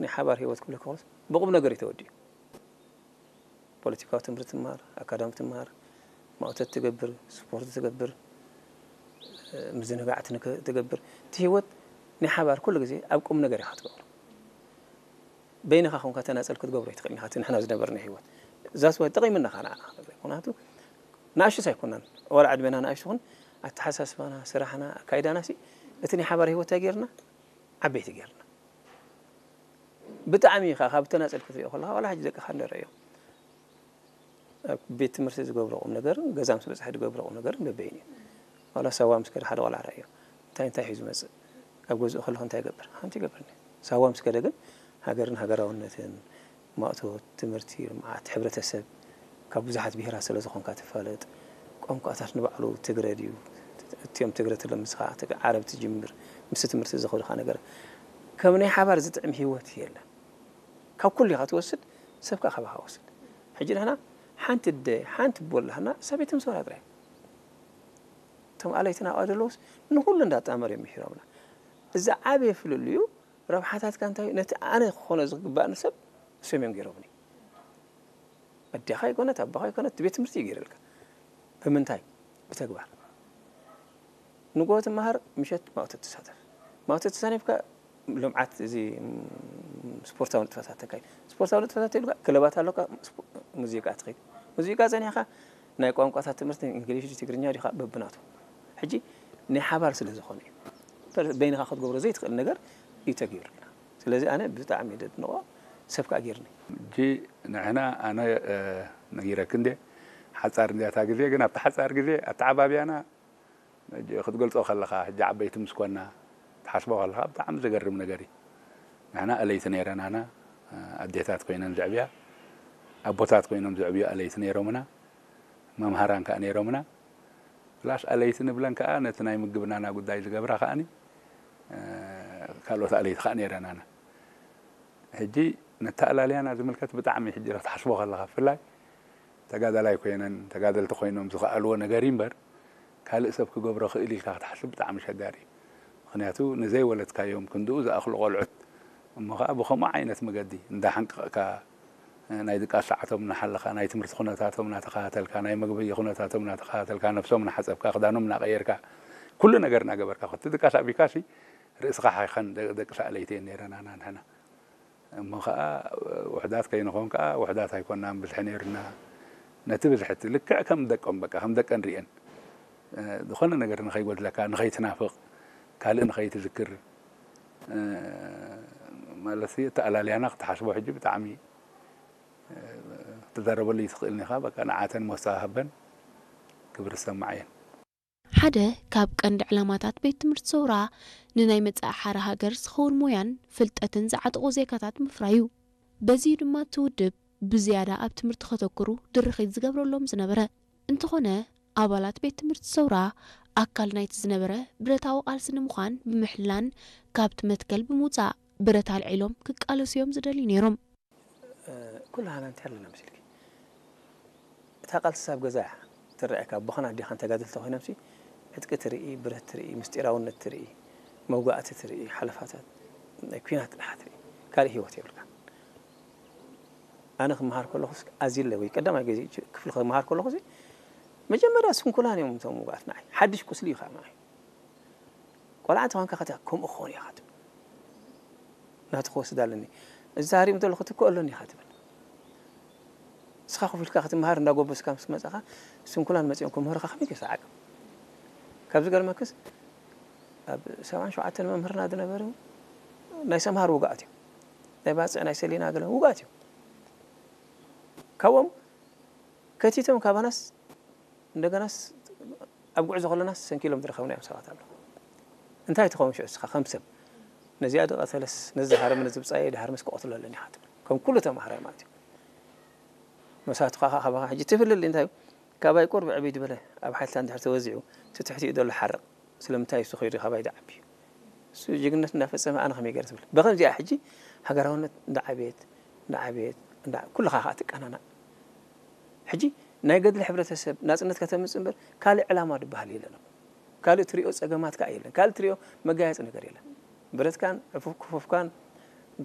ናይ ሓባር ህይወት ክብለካ ከሎስ ብቁም ነገር እዩ ተወዲኡ። ፖለቲካዊ ትምህርቲ ትማር፣ ኣካዳሚ ትማር፣ ማእቶት ትገብር፣ ስፖርት ትገብር፣ ምዝንጋዕ ትንክ- ትገብር። እቲ ህይወት ናይ ሓባር ኩሉ ግዜ ኣብ ቁም ነገር ኢኻ ትገብሮ። በይንኻ ኮንካ ተናጸል ክትገብሮ ኣይትኽእልን ኢኻ። እቲ ንሕና ዝነበርና ህይወት ዛስ ዋይ ጠቒምና ኻና። ምክንያቱ ንኣሽቱ ኣይኮናን፣ ዋላ ዕድሜና ንኣሽቱ ኹን ኣተሓሳስባና፣ ስራሕና፣ ኣካይዳና ሲ እቲ ናይ ሓባር ህይወት እንታይ ገይርና ዓበይቲ ገይርና። ብጣዕሚ ኢኻ ካብ ተናጸል ክትሪኦ ከለኻ ዋላ ሕጂ ደቅኻ ንረእዮ ኣብ ቤት ትምህርቲ ዝገብሮ ቁም ነገርን ገዛ ምስ በጽሐ ዝገብሮ ቁም ነገርን በበይን እዩ። ዋላ ሳዋ ምስ ከደ ሓደ ቆልዓ ረእዮ እንታይ እንታይ ሒዙ መጽእ፣ ኣብ ገዝኡ ከለኹ እንታይ ይገብር ሓንቲ ይገብርኒ። ሳዋ ምስ ከደ ግን ሃገርን ሃገራውነትን ማእቶት ትምህርቲ ልምዓት ሕብረተሰብ ካብ ብዙሓት ብሄራት ስለ ዝኾንካ ትፋለጥ። ቋንቋታት ንባዕሉ ትግረ ድዩ? እቲኦም ትግረ ትለምስኻ ዓረብ ትጅምር ምስ ትምህርቲ ዝኸዱኻ ነገር ከም ናይ ሓባር ዝጥዕም ህይወት የለን። ካብ ኩሉ ኢኻ ትወስድ፣ ሰብ ከዓ ካባኻ ወስድ። ሕጂ ንሕና ሓንቲ ኣደ ሓንቲ ኣቦ ኣላህና እሳ ቤት ምሶራ ጥራይ። እቶም ኣለይትና ኣብኣ ዘለውስ ንኹሉ እንዳጣመር እዮም ምሂሮምና። እዚ ዓብየ ፍልልዩ ረብሓታትካ እንታይ እዩ? ነቲ ኣነ ክኾኖ ዝግባእኒ ሰብ እሶም እዮም ገይሮምኒ። ኣዴኻ ይኮነት ኣቦኻ ይኮነት ቤት ትምህርቲ ይገይረልካ። ብምንታይ? ብተግባር። ንጎ ትመሃር ምሸት ማእቶ ትሳተፍ። ማእቶ ተሳኒፍካ ልምዓት እዚ ስፖርታዊ ንጥፈታት ተካይ ስፖርታዊ ንጥፈታት ይብልካ ክለባት ኣለካ። ሙዚቃ ትኸይድ ሙዚቃ ጸኒሕካ ናይ ቋንቋታት ትምህርቲ እንግሊሽ ትግርኛ ዲኻ በብናቱ። ሕጂ ናይ ሓባር ስለ ዝኾነ እዩ። በይንኻ ክትገብሮ ዘይትኽእል ነገር እዩ ተገይሩልና። ስለዚ ኣነ ብጣዕሚ ደድንቆ ሰብ ከዓ ገይርኒ። ሕጂ ንሕና ኣነ ነጊረክ እንደ ሓጻር እንዲያታ ግዜ ግን ኣብቲ ሓጻር ግዜ ኣተዓባብያና ክትገልጾ ከለኻ ሕጂ ዓበይቲ ምስ ኮና ትሓስቦ ከለኻ ብጣዕሚ ዘገርም ነገር እዩ። ንሕና ኣለይቲ ነይረናና ኣዴታት ኮይነን ዘዕብያ ኣቦታት ኮይኖም ዘዕብዩ ኣለይቲ ነይሮምና መምሃራን ከዓ ነይሮምና ፕላስ ኣለይቲ ንብለን ከዓ ነቲ ናይ ምግብናና ጉዳይ ዝገብራ ከዓኒ ካልኦት ኣለይቲ ከዓ ነይረናና ሕጂ ነተኣላልያና ዝምልከት ብጣዕሚ ሕጂ ክትሓስቦ ከለኻ ብፍላይ ተጋዳላይ ኮይነን ተጋደልቲ ኮይኖም ዝኸኣልዎ ነገር እዩ እምበር ካልእ ሰብ ክገብሮ ክእል ኢልካ ክትሓስብ ብጣዕሚ ሸጋሪ እዩ። ምክንያቱ ንዘይወለድካዮም ክንድኡ ዝኣኽሉ ቆልዑት እሞ ከዓ ብከምኡ ዓይነት መገዲ እንዳሓንቀቕካ ናይ ድቃስ ሰዓቶም እናሓለኻ ናይ ትምህርቲ ኩነታቶም እናተኸታተልካ ናይ መግቢ ኩነታቶም እናተኸታተልካ ነብሶም እናሓፀብካ ክዳኖም እናቐየርካ ኩሉ ነገር እናገበርካ እቲ ድቃስ ኣቢካሲ ርእስኻ ሓይኸን ደቂ ሰኣለይቲ እየን ነይረናና ንሕና እሞ ከዓ ውሕዳት ከይንኾን ከዓ ውሕዳት ኣይኮናን ብዝሒ ነይርና ነቲ ብዝሕቲ ልክዕ ከም ደቆም በቃ ከም ደቀን ርእየን ዝኾነ ነገር ንኸይጎድለካ ንኸይትናፍቕ ካልእ ንኸይትዝክር ማለት ተኣላልያና ክትሓስቦ ሕጂ ብጣዕሚ ክትዛረበሉ ይትኽእልን ኢኻ በቃ ንዓተን ሞሳ ሃበን ክብሪ ዝሰማዓየን ሓደ ካብ ቀንዲ ዕላማታት ቤት ትምህርቲ ሰውራ ንናይ መጻኢ ሓረ ሃገር ዝኸውን ሞያን ፍልጠትን ዝዓጠቑ ዜጋታት ምፍራይ እዩ። በዚ'ዩ ድማ እቲ ውድብ ብዝያዳ ኣብ ትምህርቲ ከተኩሩ ድርኺት ዝገብረሎም ዝነበረ። እንተኾነ ኣባላት ቤት ትምህርቲ ሰውራ ኣካል ናይቲ ዝነበረ ብረታዊ ቃልሲ ንምዃን ብምሕላን ካብቲ መትከል ብምውጻእ ብረት ኣልዒሎም ክቃለሱ እዮም ዝደልዩ ነይሮም። ኩላህና እንታይ ኣለና መሲልኪ? እታ ቃልሲ ኣብ ገዛ እያ ትረኣየካ። ኣቦኻን ኣዴኻን ተጋደልቲ ኮይኖምሲ ዕጥቂ ትርኢ፣ ብረት ትርኢ፣ ምስጢራውነት ትርኢ፣ መውጋእቲ ትርኢ፣ ሓለፋታት ናይ ኲናት ጥራሕ ትርኢ። ካልእ ህይወት የብልካን። ኣነ ክመሃር ከለኹስ ኣዝለ ወይ ቀዳማይ ግዜ ክፍሊ ክመሃር ከለኹሲ መጀመርያ ስንኩላን እዮም እቶም ውጉኣት ንዓይ። ሓድሽ ቁስሊ እዩ ከዓ ንዓይ። ቆልዓ እንተኾንካ ከታ ከምኡ ክኾን እየ ኢኻ ትብል። ናቱ ክወስድ ኣለኒ። እዚ ተሃሪሙ ተሎ ክትክኦ ኣለኒ ኢኻ ትብል። ንስኻ ኮፍ ኢልካ ክትመሃር እንዳጎበስካ ምስ መጻኻ ስንኩላን መጺኦም ክምህሩኻ ከመይ ገይርካ ዓቅም? ካብ ዝገርመክስ ኣብ ሰብዓን ሸውዓተን መምህርና ዝነበሩ ናይ ሰምሃር ውጉኣት እዮም። ናይ ባጽዕ ናይ ሰሊና ገለ ውጉኣት እዮም። ካብኦም ከቲቶም ካባናስ እንደገናስ ኣብ ጉዕዞ ከለና ሰንኪሎም ዝረኸብናዮም ሰባት ኣለዉ። እንታይ ትኸውን ሽዑ እስኻ ከም ሰብ ነዚኣ ድቐተለስ ነዚ ዝሃረመ ነዚ ብጻየ ድሃርመስ ክቐትሎ ኣለኒ ኢኻ ትብል። ከም ኩሉ ተማሃራይ ማለት እዩ። መሳቱኻ ኸዓ ካባኻ ሕጂ ትፍልል እንታይ እዩ? ካባይ ቁርብ ዕብይ ዝበለ ኣብ ሓይልታት እንድሕር ተወዚዑ እቲ ትሕቲኡ ዘሎ ሓርቕ ስለምንታይ እሱ ኸይዱ ካባይ ዝዓቢ እዩ? እሱ ጅግንነት እንዳፈጸመ ኣነ ከመይ ገይረ ትብል? ብኸምዚኣ ሕጂ ሃገራውነት እንዳዓበየት እንዳዓበየት እንዳ ኩልኻ ኸዓ ትቀናናእ። ሕጂ ናይ ገድሊ ሕብረተሰብ ናጽነት ከተምጽእ እምበር ካልእ ዕላማ ዝበሃል የለን። ካልእ ትሪኦ ጸገማት ከኣ የለን። ካልእ ትሪኦ መጋየጺ ነገር የለን። ብረትካን ዕፉፍ ክፉፍካን